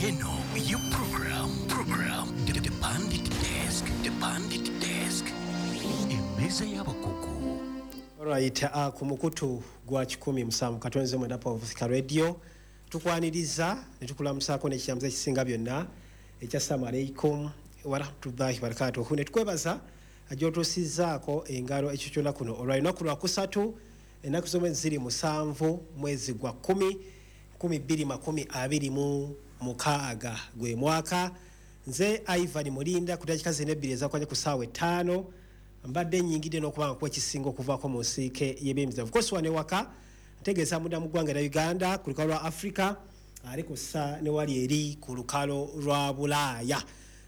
Yeno ye program The Pundit Desk, The Pundit Desk, emmeeza y'abakugu. Alright, ku mukutu gwa 107.9 Paul Radio tukwaniriza ne tukulamusaako n'ekiramuzo ekisinga byonna ekya assalamu alaikum warahmatullahi wabarakatuhu, ne tukwebaza gy'otuusizzaako engalo ekyo kyonna kuno olwa lunaku lwakusatu, ennaku z'omwezi ziri 7 mwezi gwa 10 2026 gwe mwaka. Nze Ivan Mulinda ku dakiika zino ebbiri ezakwanya ku ssaawa 5 mbadde nnyingidde n'okuba nga kuba ekisinga okuvaako mu nsiike y'ebyemizannyo. Of course wano ewaka ntegeeza munda mu ggwanga erya Uganda ku lukalo lwa Africa, ali ku ssa ne wali eri ku lukalo lwa Bulaaya.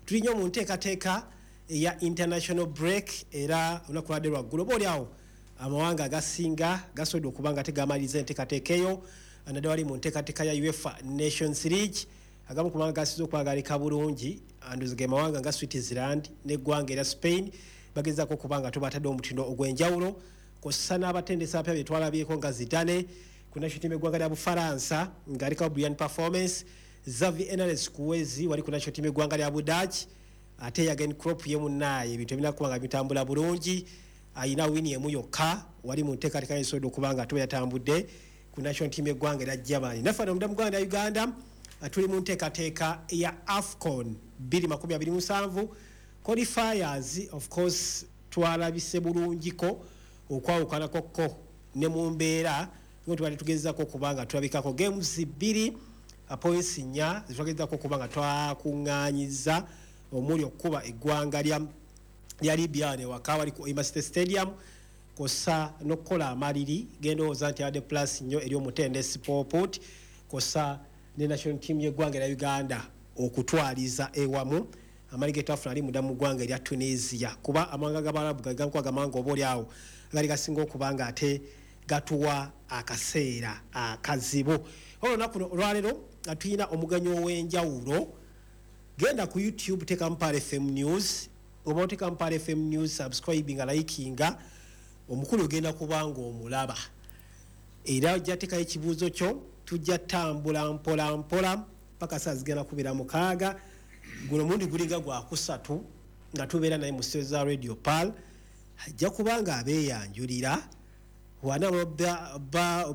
Tuli nnyo mu nteekateeka eya international break, era olunaku lwadde lwaggulo oba oli awo amawanga agasinga gasobodde okuba nga tegamaliriza enteekateeka eyo, naddala wali mu nteekateeka ya UEFA Nations League. Agamu ku mawanga gasinze okuba galeka bulungi anduzi ge mawanga nga Switzerland n'eggwanga erya Spain, bagezaako okuba nga tubatadde omutindo ogw'enjawulo, kw'ossa n'abatendesi abapya be twalabyeko nga Zidane ku national team y'eggwanga lya Bufalansa ng'alekawo brilliant performance, Xavi Hernandez Kuwezi wali ku national team y'eggwanga lya Budaaki, ate Jurgen Klopp ye munnaaye ebintu ebirina kuba nga bitambula bulungi, ayina wini emu yokka wali mu nteekateeka y'esobodde okuba nga tuba yatambudde ku national team y'eggwanga erya Germany. Naffe wano munda mu ggwanga lya Uganda tuli mu nteekateeka ya AFCON 2027 qualifiers. Of course twalabise bulungiko okwawukanako ko ne mu mbeera nga tubadde tugezaako okuba nga tulabikako games 2, points 4 zetwagezaako okuba nga twakuŋŋaanyiza, omuli okukuba eggwanga lya Libya ne waka wali ku Hoima City Stadium, kw'ossa n'okukola amaliri gendowooza nti abadde plus nnyo eri omutendesi Paul Put, kw'ossa ne national team y'eggwanga erya Uganda okutwaliza ewamu amali ge twafuna ali munda mu ggwanga erya Tunisia, kuba amawanga g'Abarabu gagankuba gamawanga oba oli awo gali gasinga okuba nga ate gatuwa akaseera akazibu. Olunaku olwaleero tulina omugenyi ow'enjawulo. Genda ku YouTube, teekamu Pearl FM News, oba oteekamu Pearl FM News, subscribinga, likinga, omukulu ogenda kuba ng'omulaba, era ojja teekayo ekibuuzo kyo. Tujja tambula mpola mpola paka saa zigenda kubeera 6. Guno omundi gulinga gwakusatu nga tubeera naye mu studio za Radio Pearl. Ajja kuba nga abeeyanjulira wana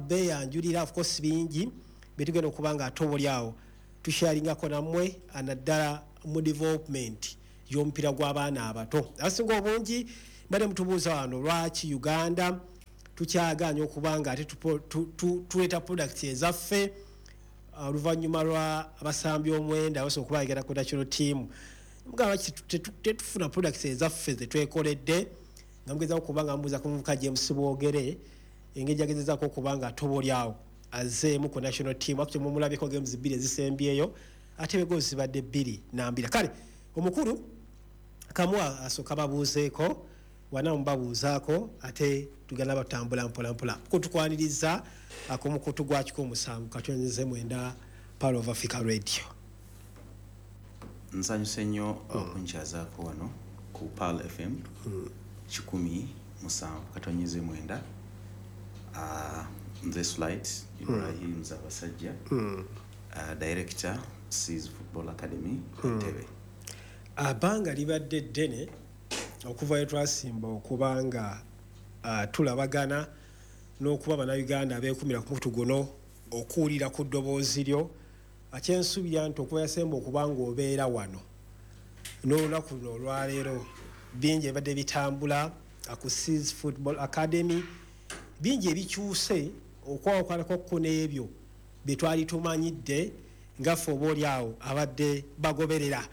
beeyanjulira. Of course bingi byetugenda okuba nga ate obuli awo tusharingako nammwe, naddala mu development y'omupiira gw'abaana abato. Abasinga obungi mbadde mutubuuza wano lwaki Uganda tukyagaanye okuba nga ate tuleeta products ezaffe oluvannyuma lwa abasambi 9 abasobola okuba bagenda ku national team. Mugamba lwaki tetufuna products ezaffe ze twekoledde, nga mugezaako okuba nga mubuuza ku muvubuka James Bwogere engeri gyagezezaako okuba nga atoba oli awo azzeemu ku national team. Actually mumulabyeko games 2 ezisembyeyo, ate bwe goals zibadde 2 na. Kale omukulu kamu asooka babuuzeeko wana mubabuuzaako, ate tugenda batambula mpola mpola kutukwaniriza ku mukutu gwa 107.9 Pearl of Africa Radio. Nsanyuse nnyo okunkyazaako wano ku Pearl FM 107.9. Nze Slight Ibrahim Zabasajja, director Seas Football Academy Entebbe. Abbanga libadde ddene okuva we twasimba okuba nga tulabagana n'okuba Bannayuganda abeekumira ku mukutu guno okuwulira ku ddoboozi lyo. Kyensuubira nti okuva yasemba okuba ng'obeera wano n'olunaku luno olwaleero, bingi ebibadde bitambula ku Seas Football Academy, bingi ebikyuse okwawukanako ko n'ebyo bye twali tumanyidde nga ffe oba oli awo abadde bagoberera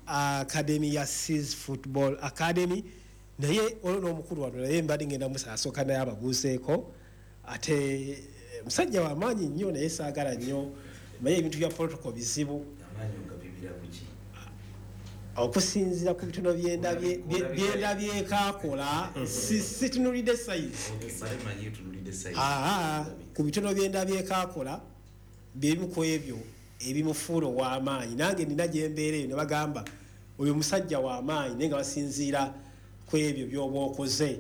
academy ya Seas Football Academy. Naye olwo n'omukulu wano naye mbadde ngenda musasooka naye ababuuzeeko, ate musajja w'amaanyi nnyo, naye saagala nnyo naye ebintu bya protocol bizibu. Okusinziira ku bitono byendabyekaakola, situnulidde size, ku bitono byendabyekaakola byebimu ku ebyo ebimufuula ow'amaanyi. Nange nina gyembeera eyo ne bagamba oyo musajja w'amaanyi, naye nga basinziira ku ebyo by'oba okoze.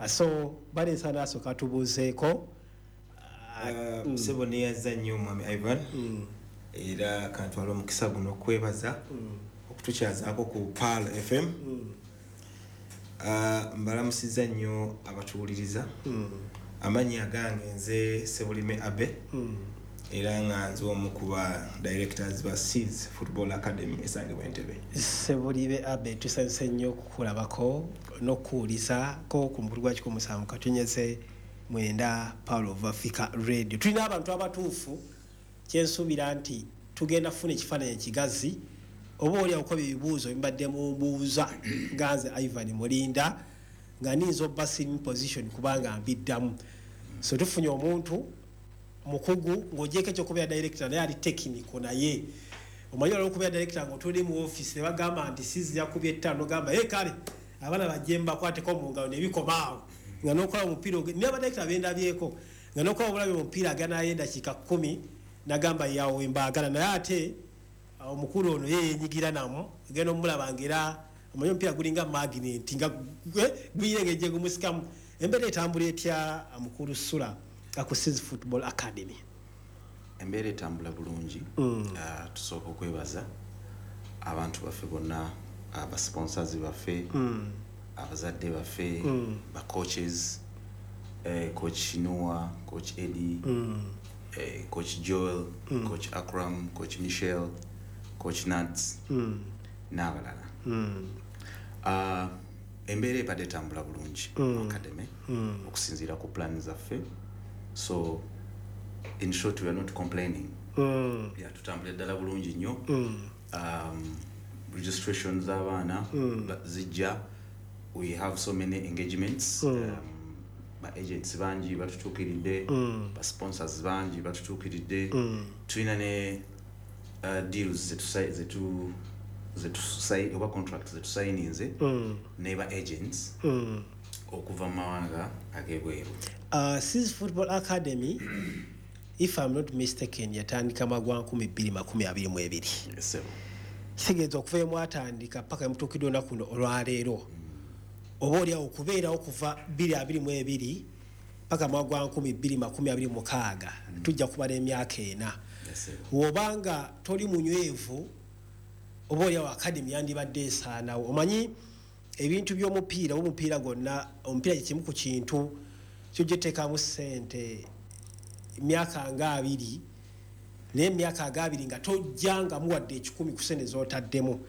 So baleesa naasooka tubuuzeeko. Sebo, neyaza nnyo omwami Ivan. Era kantwala omukisa guno okwebaza okutukyazaako ku Pearl FM. Mbalamusiza nnyo abatuwuliriza. Amannya agange nze Sebulime Abe, era nga nze omu ku ba directors ba Seeds Football Academy esangibwa Entebbe. Sebulibe Abe, tusanyuse nnyo okukulabako n'okuwulizako ku mukulu gwa 107.9 Pearl of Africa Radio. Tulina abantu abatuufu, kyensuubira nti tugenda kufuna ekifaananyi ekigazi oba oli okukoba ebibuuzo bibadde mumbuuza nga nze Ivan Mulinda nga niyinza obba sitting position kubanga mbiddamu. So tufunye omuntu mukugu ng'ogyeko ekyokubeera director, naye ali technical. Naye omanyi olwokubeera director ng'otuli mu office ne bagamba nti sizi yakubye 5, ogamba e kale abaana bajje mbakwateko mu ngalo nebikomaawo, nga n'okola omupiira naye abadirector bendabyeko nga n'okola obulabi omupiira aganayo endakiika 10 nagamba yawe mbaagala. Naye ate omukulu ono ye yenyigira namu, genda omulaba ngera omanyi omupiira gulinga magnet nga guyina engeri gye gumusikamu. Embeera etambula etya, mukulu Sula, ku Seeds Football Academy? Embeera etambula bulungi. Tusooka okwebaza abantu baffe bonna, abasponsors baffe, abazadde baffe, ba coaches, Coach Noah, Coach Eddie, Coach Joel, Coach Akram, Coach Michel, Coach Nads n'abalala. Embeera ebadde etambula bulungi mu academy okusinziira ku plan zaffe. So in short, we are not complaining. Yeah, tutambula ddala bulungi nnyo. Registration z'abaana zijja. We have so many engagements. Ba agents bangi batutuukiridde, ba sponsors bangi batutuukiridde. Tulina ne deals oba contracts zetusayininze ne ba agents okuva mu mawanga ag'ebweru. Seeds Football Academy, if I'm not mistaken, yatandika magwa 2022. Sebo. Kitegeeza okuva emwatandika paka emutuukidde olunaku luno olwaleero, oba oliawo okubeerawo kuva 2022 paka mwaka gwa 2026, tujja kubala emyaka 4. Bw'obanga toli munywevu, oba oliawo academy yandibadde esaanawo. Omanyi ebintu by'omupiira, omupiira gwonna, omupiira kye kimu ku kintu kyojja ssente emyaka nga 20, naye emyaka nga 20 nga tojjangamu wadde 100 ku ssente z'otaddemu.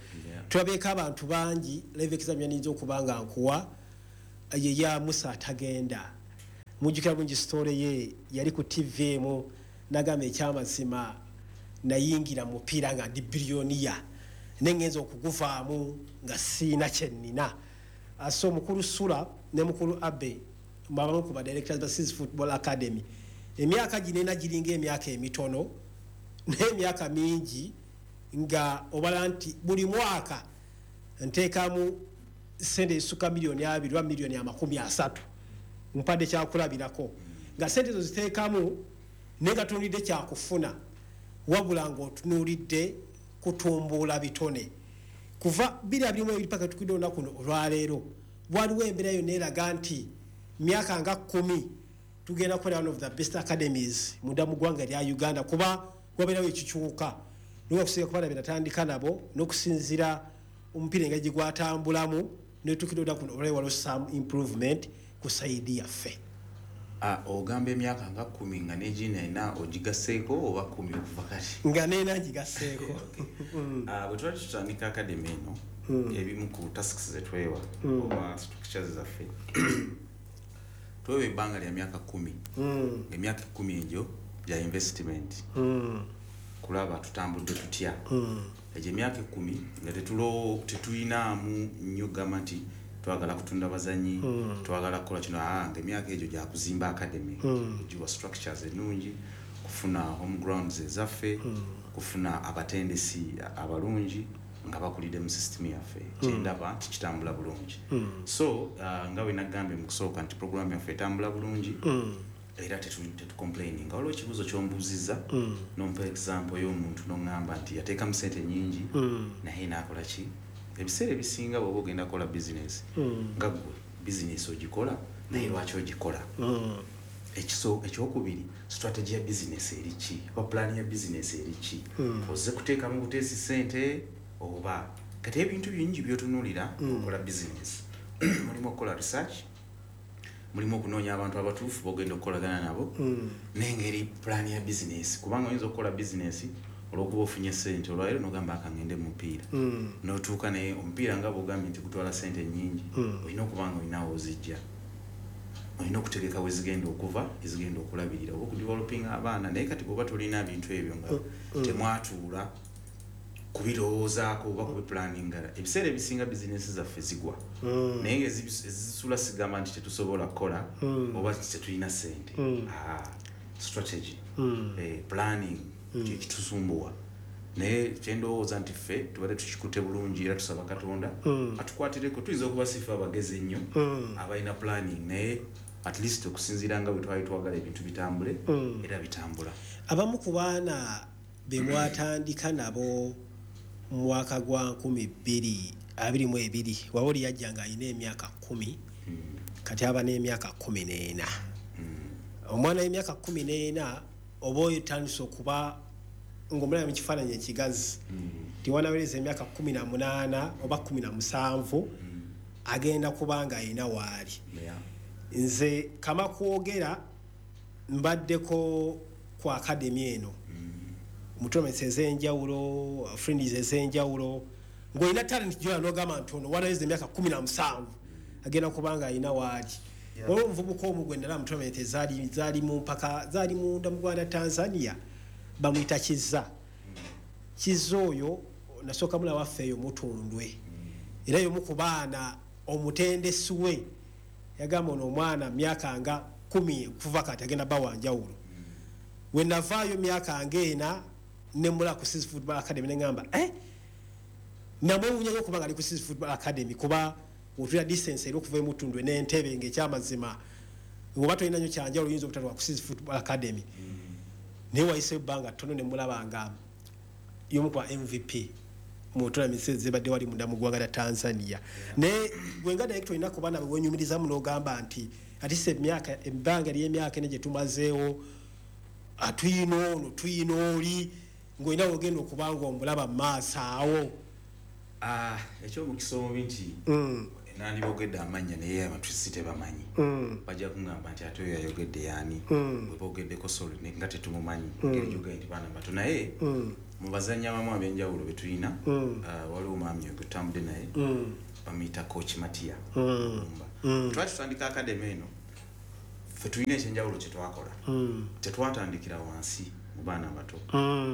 Tulabeeko abantu bangi. Live exam yaniyinza okuba nga nkuwa ye ya Musa Atagenda. Mujjukira bulungi story ye, yali ku TV emu nagamba, ekyamazima nayingira mu mupiira nga ndi billionaire, nengenza okuguvaamu nga siina kyennina. So mukulu Sula ne mukulu Abe, abamu ku ba directors ba Seeds Football Academy, emyaka gino ena giringa emyaka emitono, naye emyaka mingi nga obala nti buli mwaka nteekamu sente esukka miliyoni 20 oba miliyoni 30. Mpadde kyakulabirako nga sente ezo ziteekamu naye nga tunuulidde kyakufuna, wabula ng'otunuulidde kutumbuula bitone. Kuva 2022 paka tukidde olunaku luno olwaleero, waliwo embeera yonna eraga nti myaka nga 10 tugenda kubeera one of the best academies munda mu ggwanga erya Uganda, kuba wabeerawo ekikyuka nokusinga kubaana be natandika nabo n'okusinziira omupiira engeri gye gwatambulamu netukidde olunaku luno olwaleero, waliwo some improvement ku side yaffe. Ogamba emyaka nga 10 nga negina ena ogigasseeko oba 10 okuva kati? Nga neena ngigasseeko. Bwe twali tutandika academy eno, ebimu ku tasks zetwewa oba structures zaffe, twewa ebbanga lya myaka 10. Emyaka 10 egyo gya investment, kulaba tutambudde tutya. Egyo emyaka 10 nga tetuyinaamu nnyo gamba nti twagala kutunda bazanyi, twagala kukola kino. Nga emyaka egyo gyakuzimba academy, giwa structures ennungi, kufuna home grounds ezaffe, kufuna abatendesi abalungi nga bakulidde mu system yaffe. Kyendaba nti kitambula bulungi. So nga bwe nagambye mu kusooka nti program yaffe etambula bulungi era tetucomplaininga. Waliwo ekibuuzo kyombuuzizza nompa example y'omuntu noŋŋamba nti yateekamu sente nyingi naye naakola ki. Ebiseera ebisinga bw'oba ogenda kukola bizinesi nga ggwe, bizinesi ogikola naye lwaki ogikola? Ekyokubiri, strategy ya business eri ki oba plan ya business eri ki? Ozze kuteekamu buteesi sente oba? Kati ebintu bingi byotunuulira okukola business. Mulimu okukola research, mulimu okunoonya abantu abatuufu bogenda okukolagana nabo, n'engeri plan ya business, kubanga oyinza okukola business olwokuba ofunye sente olwaleero nogamba akangende mu mupiira, notuuka, naye omupiira nga bwogambye nti gutwala sente nyingi, olina okuba nga olinawo ozijja, olina okutegeka wezigenda okuva, ezigenda okulabirira oba okudevelopinga abaana. Naye kati bwoba tolina bintu ebyo, nga temwatuula kubirowoozaako oba kubiplaninga, ebiseera ebisinga bizinesi zaffe zigwa. Naye nga ezisula sigamba nti tetusobola kukola oba tetulina sente. Ah, strategy, planning kyekitusumbuwa. Naye kyendowooza nti ffe tubadde tukikute bulungi, era tusaba Katonda atukwatireko. Tuyinza okuba sife abagezi ennyo abalina planning, naye at least okusinziira nga bwe twali twagala ebintu bitambule, era bitambula. Abamu ku baana be mwatandika nabo mu mwaka gwa 2022, waba oli yajja ng'alina emyaka 10, kati aba n'emyaka 14. Omwana w'emyaka 14 oba oyo tandise okuba ng'omulaba mu kifaananyi ekigazi, tiwanawereza emyaka 18 oba 17, agenda kuba nga alina waali. Nze kama kwogera, mbaddeko ku academy eno mu tournaments ez'enjawulo, friendlies ez'enjawulo, ng'olina talent gyola n'ogamba nti ono wanaweza emyaka 17 agenda kuba nga alina waali. Waliwo omuvubuka omu gwe nalaba mu tournament ezaali zaali mu mpaka zaali munda mu Rwanda, Tanzania, bamuyita Kiza. Kiza oyo nasooka mulaba waffe eyo Mutundwe, era y'omu ku baana omutendesi we yagamba ono omwana myaka nga 10 kuva kati agenda ba wanjawulo. We navaayo myaka nga 4 nemula ku Sis Football Academy, neŋŋamba, eh, namwewuunyayo okuba nga ali ku Sis Football Academy, kuba otulira distance era okuva emutundwe n'Entebe, ng'ekyamazima oba tolina nnyo kyanjawulo oyinza obutatwa ku Sis Football Academy. Naye wayiseyo ebbanga ttono nemulaba nga y'omu ku ba MVP mu tournaments ezibadde wali munda mu ggwanga lya Tanzania. Naye gwe nga director, olina ku baana bewenyumirizamu n'ogamba nti atise emyaka, ebbanga ly'emyaka ene gye tumazeewo, tuyina ono, tuyina oli, ng'olina wogenda okuba nga omulaba mu maaso awo? Ah, ekyomukisa omubi nti nandibogedde amannya naye abantu si tebamanyi, bajja kuŋŋamba nti ate oyo yayogedde yaani bwe bogeddeko, sorry, nga tetumumanyi, ngeri gyogambye nti baana bato. Naye mu bazannyi abamu ab'enjawulo be tulina, waliwo omwami oyo gwe tutambudde naye, bamuyita Coach Matia Lumba. Twali tutandika academy eno, ffe tulina ekyenjawulo kye twakola. Tetwatandikira wansi mu baana bato,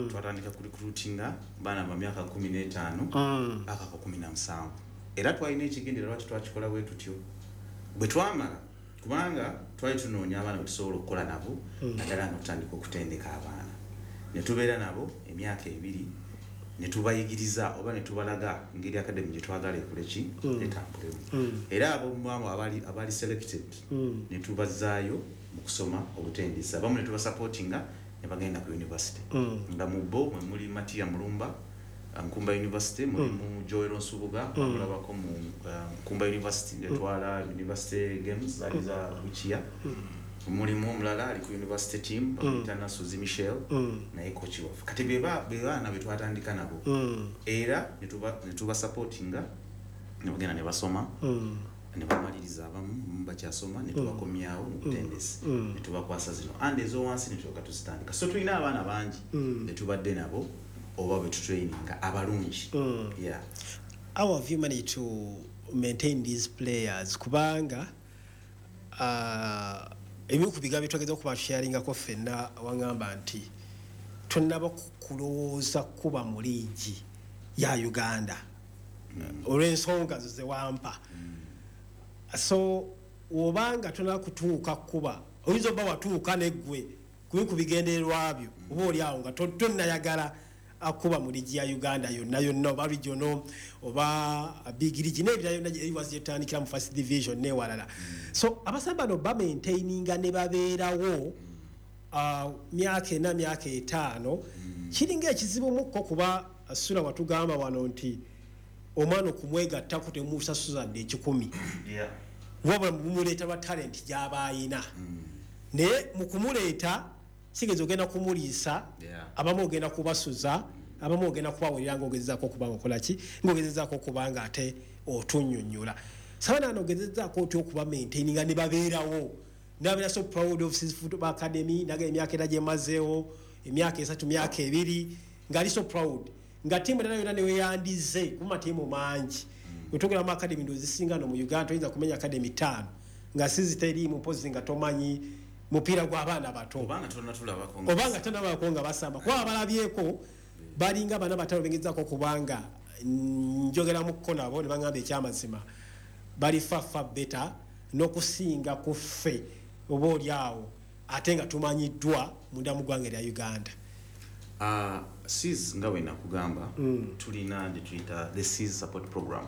twatandika ku recruitinga baana ba myaka 15 paka ku 17. Era twalina ekigendererwa lwaki twakikola bwe tutyo. Bwe twamala, kubanga twali tunoonya abaana bwe tusobola okukola nabo, naddala nga tutandika okutendeka abaana, ne tubeera nabo emyaka 2, ne tubayigiriza oba ne tubalaga engeri academy gye twagala ekole ki, etambulemu. Era abomuamu abali selected ne tubazaayo mu kusoma obutendesi, abamu ne tubasupportinga ne bagenda ku university, nga mu bo mwe muli Matia Mulumba, Nkumba University, mulimu Joel Nsubuga, mulabako mu Nkumba University etwala university games zaali za Bukia. Mulimu omulala ali ku university team, bamuyita Nasuzi Michel, naye coach waffe. Kati be baana be twatandika nabo, era ne tubasupportinga ne bagenda ne basoma ne bamaliriza, abamu bakyasoma, ne tubakomyawo mu butendesi ne tubakwasa zino andi ez'owansi ne tulyoka tuzitandika. So tulina abaana bangi be tubadde nabo oba be tutraininga abalungi, yeah. How have you managed to maintain these players? Kubanga ebimu ku bigambo byetwageza okuba tusharingako ffenna, waŋŋamba nti tonnaba kulowooza kuba mu liigi ya Uganda olw'ensonga zo ze wampa. So obanga tonaba kutuuka kuba, oyinza oba watuuka neggwe kubi ku bigendererwa byo, oba oli awo nga tonnayagala akuba mu liigi ya Uganda yonna yonna, oba regional oba big league n'ebirala yonna eriwazi gyetutandikira mu first division n'ewalala. So abasambi bano bamaintaininga ne babeerawo myaka 4, myaka 5, kiringa ekizibu mukko, kuba sula watugamba wano nti omwana okumwegattako temusasuzadde 100, wabula mumuleeta lwa talent gy'aba ayina. Naye mu kumuleeta kigeza ogenda kumuliisa, abamu ogenda kubasuza, abamu ogenda kubawerera ng'ogezezaako okuba nga okola ki, ng'ogezezaako okuba nga ate otunnyonnyola. Sabaana ogezezaako otya okuba maintaininga ne babeerawo, nabeera so proud of Seas Football Academy, naga emyaka era gyemazeewo, emyaka 3, myaka 2, ng'ali so proud nga ttiimu endala yonna neweyandize kuba matiimu mangi. Wetwogera mu academy ndozisinga no mu Uganda toyinza kumenya academy 5 nga sizi teriimu, mpozi nga tomanyi mupiira gw'abaana bato obanga tonatulabako nga basamba, kuba abalabyeko balinga bana batano bengezaako kubanga njogera mukko nabo ne baŋŋamba ekyamazima bali fafa beta n'okusinga ku ffe oba oli awo ate nga tumanyiddwa munda mu ggwanga erya Uganda. Seas nga bwe nakugamba, tulina gye tuyita the Seas support program.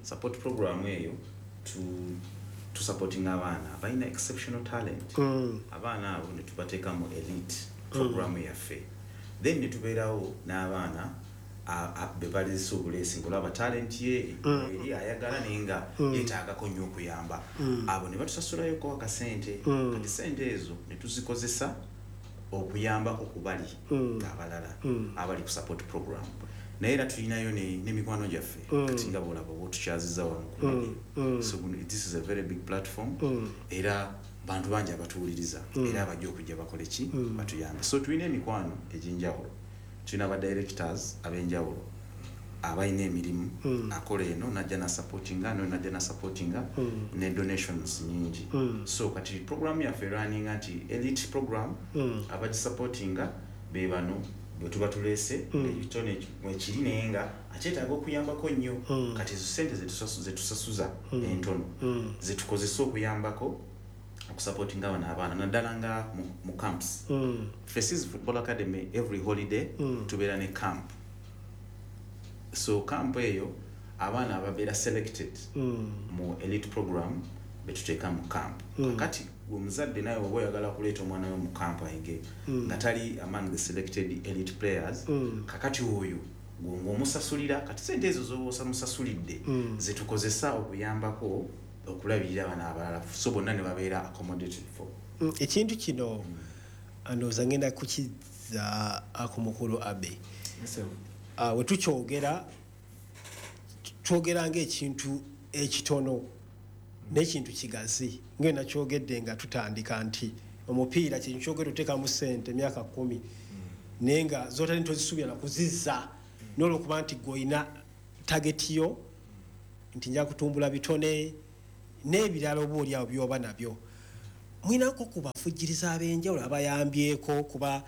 Support program eyo tusupportinga abaana abalina exceptional talent. Abaana abo ne tubateeka mu elite program yaffe, then ne tubeerawo n'abaana be balizisa obuleesi ng'olaba talent ye eri ayagala naye nga yeetaagako nnyo okuyamba. Abo ne batusasulayoko akasente. Kati sente ezo ne tuzikozesa okuyambako ku bali abalala abali ku support program. Naye era tulinayo n'emikwano gyaffe kati nga bw'olaba oba otukyaziza wano ku radio. So this is a very big platform. Era bantu bangi abatuwuliriza era abajja okujja bakole ki, batuyambe. So tulina emikwano egy'enjawulo, tulina ba directors ab'enjawulo abalina emirimu, akola eno najja nasupportinga, no najja nasupportinga, ne donations nyingi. So kati program yaffe erunninga nti elite program abagisupportinga be bano bwe tuba tuleese ekitone mwekiri naye nga akyetaaga okuyambako nnyo. Kati ezo sente zetusasuza entono zetukozesa okuyambako okusupportinga bano abaana naddala nga mu camps. Seas Football Academy every holiday tubeera ne camp. So camp eyo abaana ababeera selected mu elite program betuteeka mu camp. Kakati gwe muzadde naye oba oyagala kuleeta omwana we mu camp ayige nga tali among the selected elite players, kakati oyo gwe ng'omusasulira. Kati sente ezo z'oba omusasulidde zetukozesa okuyambako okulabirira abaana abalala, so bonna ne babeera accommodated for. Ekintu kino ndowooza ngenda kukizza ku mukulu Abe. We tukyogera twogera ng'ekintu ekitono n'ekintu kigazi, nga nakyogedde nga tutandika nti omupiira kintu kyogera oteekamu ssente emyaka 10 naye nga z'otali tozisuubira na kuzizza, n'olwokuba nti gw'olina target yo nti nja kutumbula bitone n'ebirala oba oli awo by'oba nabyo. Mwinako ku bafujjiriza ab'enjawulo abayambyeko kuba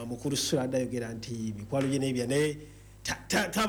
mukulu Sula adde ayogera nti mikwano gye n'ebya naye